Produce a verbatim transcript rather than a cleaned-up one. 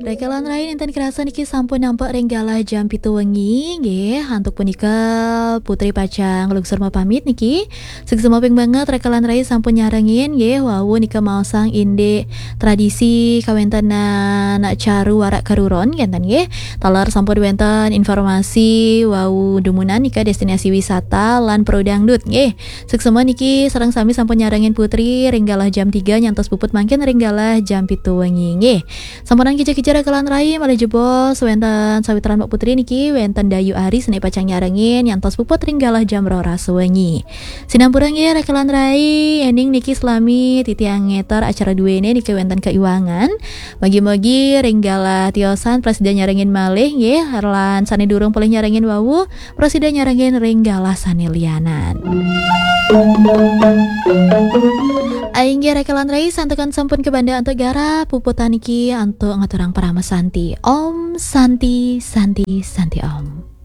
Raka lan rai, nénten kerasa niki sampun nampek ring galah jam pitu wengi, nggih. Antuk punika Putri pacang nglungsur mapamit niki. Suksma ping banget raka lan rai sampun nyarengin, nggih, wau nika maosang indik tradisi kawéntenan Caru Warak Karuron, kénten nggih. Taler sampun wénten informasi wau dumunan nika destinasi wisata lan pro dangdut, nggih. Suksma niki sareng sami sampun nyarengin Putri ring galah jam tiga nyantos puput mangkin ring galah jam pitu wengi, nggih. Sampunang kija-kija raka lan rai, malih jebos wénten sawitran Mbok Putri niki, wénten Dayu Aris niki pacang nyarengin nyantos puput ring galah jam roras wengi. Sinampura nggih raka lan rai, éning niki salami titiang ngéter acara duéné niki wénten kaiwangan. Mugi-mugi ring galah tiosan prasida nyarengin malih nggih, lan sané durung polih nyarengin wau, prasida nyarengin ring galah sané lianan. Inggih raka lan rai, santukan sampun kabanda antuk garap, puputang niki antuk ngaturang parama santi. Om Santi, Santi, Santi Om.